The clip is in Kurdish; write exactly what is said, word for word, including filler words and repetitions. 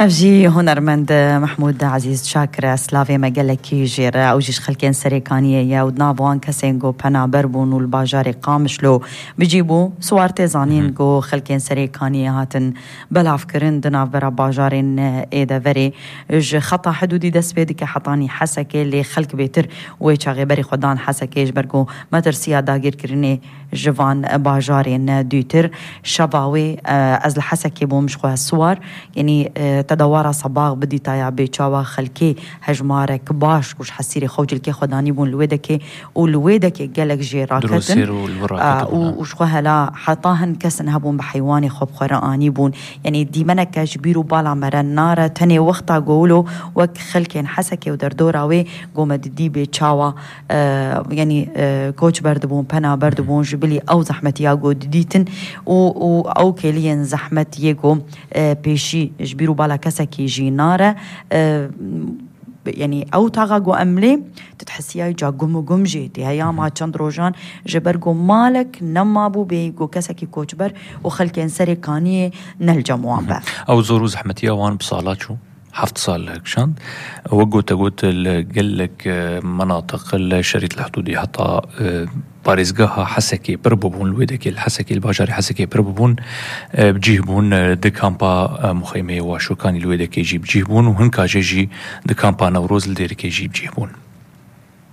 Ev jî hunermend Mehmûd Ezîz Şakir e, slavê me gelekî jê re. Ew jî ji xelkên Serêkaniyê ye û di nav wan kesên ku penaber bûn û li bajarê Qamişlo bi cî bû. Siwar tê zanîn ku xelkên Serêkaniyê hatin belavkirin di navbera bajarên ê deverê. Ji xeta hidûdî dest pê dike hetanî Hesekê, lê xelk bêtir wê çaxê berî xwe dan Hesekê, ji ber ku metirsiya dagirkirinê ji van bajarên dûtir. Şeva wê, e, ez li Hesekê bûm ji xwe siwar. Yanî, e, te dewara Sebax bidîtaya bêçawa xelkê hejmarek baş û ji hesîrê xwe û cilkê xwe danî bûn li wê dekê û li wê dekê gelek jê raketin. Sêr û li vir raketin, û, ha. Û ji xwe hela heta hin kesin hebûn bi heywanê xwe bi xwe re anî bûn. Yanî dîmeneke ji bîr û bala me re nare, tenê wexta ku wilo wek xelkên Hesekê û derdora wê ku me didî bêçawa, e, yanî, e, koçber dibûn, penaber dibûn, ji bilî ew zehmetiya ku didîtin û, û ew kêliyên zehmet yê ku, e, pêşî ji bîr û bala kesekî jî nare. E, yanî ew taxa ku em lê, tu dihesiyayî ca gum û gum jê tê. Heya ma çend rojan ji ber ku malek nemabû bê ku kesekî koçber û xelkên Serêkaniyê ne li cem wan be. Ew zor û zehmetiya wan bi sala çû. Heft sal kişand. Wek gote got, li gelek, e, menatiq li Şerît li Hudûdî heta, e, parêzgeha Hesekê pir bûbûn, li wê dekê li Hesekê, li bajarê Hesekê pir bûbûn, e, bi cih bûn, e, di kampa, e, muxeymeyê Waşokanî li wê dekê jî bi cih bûn û hinka jê jî di kampa Newroz li Dêrikê jî bi cih bûn.